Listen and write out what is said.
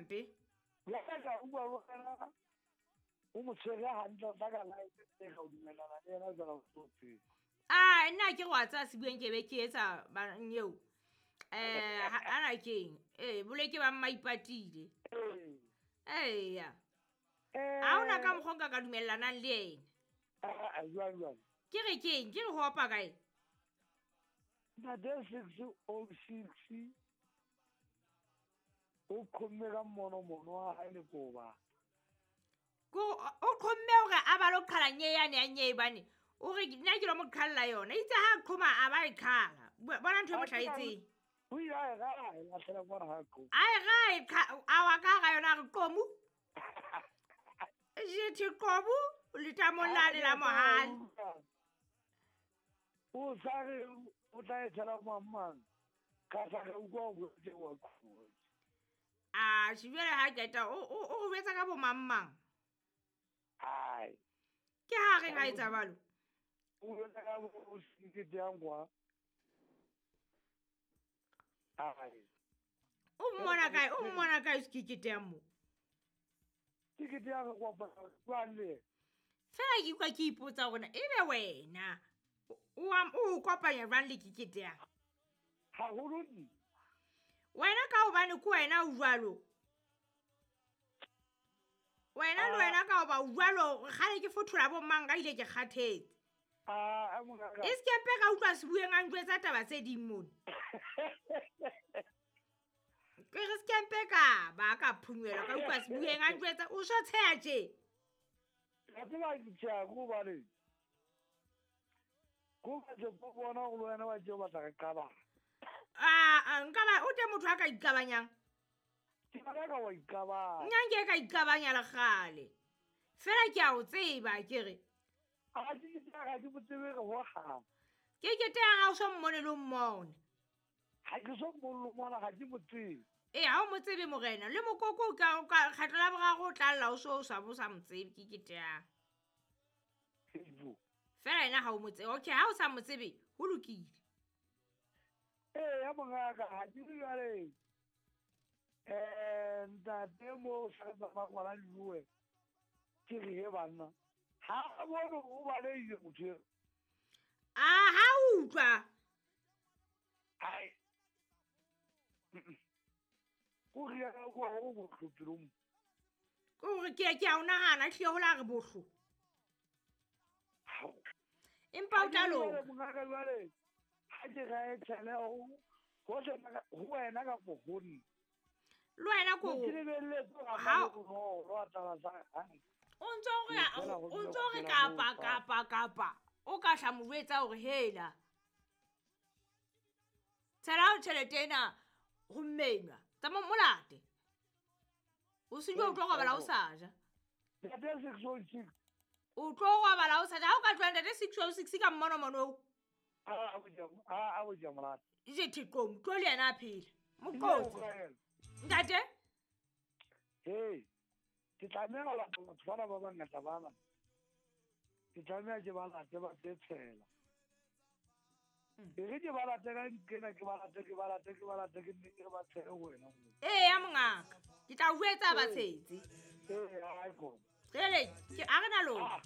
gampe. Jwale ka utlwa le wena o mo tshwere hantle, o tla ka life e ka o dumellana le yena jwalo o so tsebe. A nna ke re wa tseba sebueng ke be ke etsa baneng eo. Ana keng? Boleke ba mmaipatile. Ee. Eya. Ha hona ka mokgwa o nka ka dumellanang le yena. Ah, jwang jwang? Ke re keng? Ke re ho opa kae? Ntate 606 o qhomme ka mono mono wa hae lekoba. Ko o qhomme hore a ba lo qhala nye yane ya nye bane. O re nna ke lo mo qhalla yona. Itse ha qhoma a ba e qhala. Bona ntho e mo hlahetseng. O ile a e raha, e lahlela kwana ha qhoma. A e raha, e a wa ka hara yona a re qomu. Jethe qobu letamong lane la mohale. O sa re o tla e tshela mang mang. Ka sa re utlwa o boletse wa qhoma. A jwale ha qeta o re jwetsa ka bo mang mang. Ai. Ke ha re ga etsa jwalo. O jwetsa ka bo sekete yang kwa. Ai. O mmona kae? O mmona kae sekete yang mo? Sekete yang kwa jwang le? Fela ke utlwa ke ipotsa hore na ebe wena o kopanya jwang le kekete yang? Haholo nna. Wena ka hobane ke wena o jwalo. Wena le wena ka hoba o jwalo, kgale ke fothola bo mang ka ile ke kgathetse. Ah, mongaka. E se ke mpe ka utlwa sebueng a njwetsa taba tse ding mona. Ke re se ke mpe ka ba ka phunywelwa ka utlwa sebueng a njwetsa o so tsheha tje. Ka tseba ke tsheha ko hobane ko ba tse ko bona hore le wena wa tje o batla re qabang. Ah, nka ba o teng motho a ka iqabanyang? Ke bona ka wa iqabanya. Nna nke ka iqabanya le kgale. Fela ke a o tseba ke re. A ke ke ga ke mo tsebe re ho hang. Ke ke te ha o so mmone le o mmone. Ha ke so mmone le mmona, ga ke mo tsebe. Ee, ha o mo tsebe morena, le mokoko ka kgetlo la boraro o tla lla o so o sa bo sa mo tsebe ke ke te yang. Fela yena ha o mo tsebe. Okay, ha o sa mo tsebe, ho lokile. Ee, ya mongaka, ha ke re jwale. Ntate mo sa tsamaya ngwana Leruwe, ke re he banna. Ha a bone o balehile motho eo. A ha utlwa. Ai. Ko re ya ka kwa ho bohlo pelong. Ko re ke a o nahana hlile ho la re bohlo. Empa o tla loka. Mongaka jwale, ha ke ra e tshele ho ho wena kapo ho nna. Le wena ko Ke lebelletse hore Ha ha o no lo taba tsa hae. O ntso re kapa kapa kapa o ka hla mo jwetsa hore hela. Tshela tjhelete ena ho mmenwa. Tsamaya molate. O se o tlo robala o sa ja. Ntate 606. O tlo robala o sa ja. Ha o ka tloha ntate 606 ka mmono mono o. A bo ja molate. Je thiqomo, tlo le yena a phela. Moqotsi. Ntate? Hey. Ke tlameha ho lata batho bana ba bangata bana. Ke tlameha ke ba late ba tle tshela. E re ke ba late ka nkena, ke ba late, ke ba late, ke ba late, ke nne ke re ba tshele ho wena moo. Ee, ya mongaka. Ke tla o jwetsa ba tshetse. Ee, ha e kgone. Jwale, ke a re na lona.